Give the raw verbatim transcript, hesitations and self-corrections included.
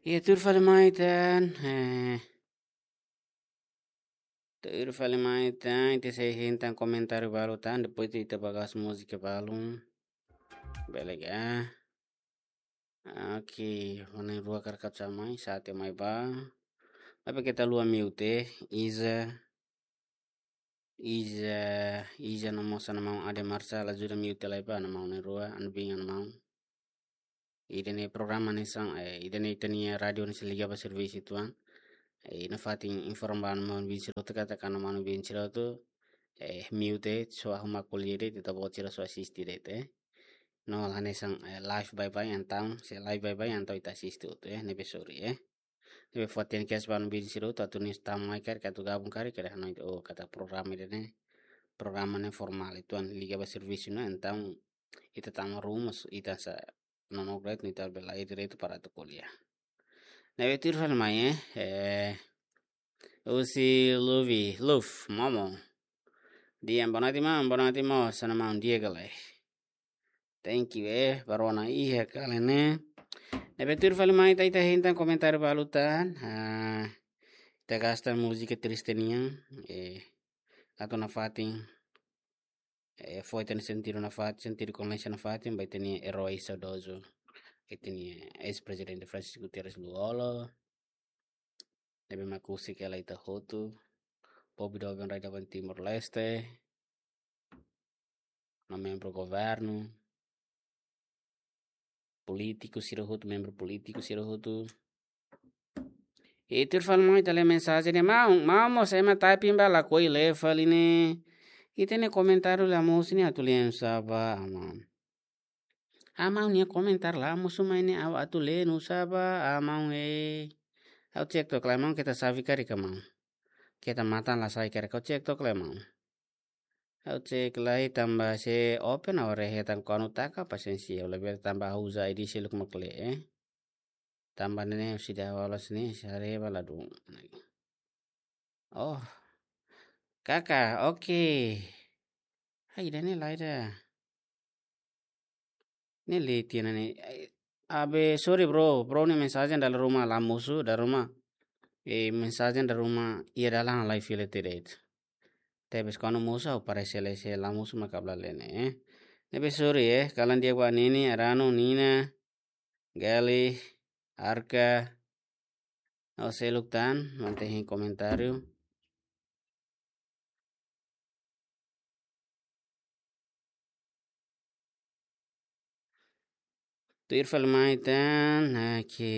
Iha tuir fali mai tan, eh, tuir fali mai tan, ita sei hein tan komentáriu balu tan, depois ita bá iha múzika balu. Bele ka? Oke, mana rua karkat samai, sate mai ba. Apa kita lua mute, Iza, Iza, Iza no mós ana maun Ade Marsa, la ajuda mute lai ba, ana maun ne'e rua, ana bin ana maun. Ida-ne'e programa hanesan, eh, ida-ne'e ita-nia rádiu ne'e sei liga ba servisu uitoan. Eh, iha fatin informa ba ana maun bin sira hotu katak ana maun bin sira hotu, eh, mute, só arruma ko'alia de'it, ita-boot sira só asiste de'it, eh. No, la hanesan, eh, live baibain, entaun, se live baibain, entaun ita asiste hotu, eh, ne'ebé sorry, eh. Ne'ebé fó atensaun ba ana maun bin sira hotu, atu nia tama mai karik, atu gabung karik, karik hanoin, oh, katak programa ida-ne'e, programa ne'e formál, uitoan liga ba servisu ne'e, entaun, ita tama ruma, ita sa, no, no, great, ita bele iha direitu para atu ko'alia. Ne'ebé tuir fali mai, eh, eh, Usi Luvi, Luf, Momo. Di'ak, boa noite, maun, boa noite, maun, sana maun, di'ak ka lae? Thank you, eh, baru ona iha kali ne'e. Ne'ebé tuir fali mai ita, ita hein tan komentáriu balu tan. Ah, ita gasta múzika triste nian, eh, atu nafatin, eh, fó ita-nia sentidu nafatin, sentidu kondolánsia nafatin ba ita-nia erói saudozu, ita-nia eis-prezidente Francisco Guterres Lú-Olo. Ne'ebé mak husik hela ita hotu, povu doben rai doben Timor-Leste, no membru governu, polítiku sira hotu, membru polítiku sira hotu. I tuir fali mai ita lee mensajen ne'e, maun, maun mós ema typing ba lakohi lee fali ne'e. Ita-nia komentáriu la mosu ne'e atu lee nusá ba, maun. Amaun nia komentáriu la mosu mai ne'e ha'u atu lee nusá ba, amaun, eh. Ha'u cek took lai maun, keta xave karik ka maun. Keta matan la sai karik, ha'u cek took lai maun. Ha'u cek lai tanba se open ha'u haree hetan kuandu taka pasiénsia, ha'u labele tanba ha'u uza I D seluk mak lee, eh. Tanba ne'e ne'e sida walas ne'e, sare bala dun. Oh. Kaka, oke. Ai, ida-ne'e lae ida. Ne'e leti ne'e. Ai, abe, sorry bro, bro nia mensajen dala ruma la mosu, dala ruma. Eh, mensajen dala ruma iha dalan lai fila tiha de'it. Tebes kuandu mosu ha'u parese lee, se la mosu mak ha'u la lee ne'e, eh. Ne'ebé sorry, eh, kalan di'ak ba Nini, Arano, Nina, Gali, Arka, no seluk tan, mantén hein komentáriu. Tuir fali mai tan, oke.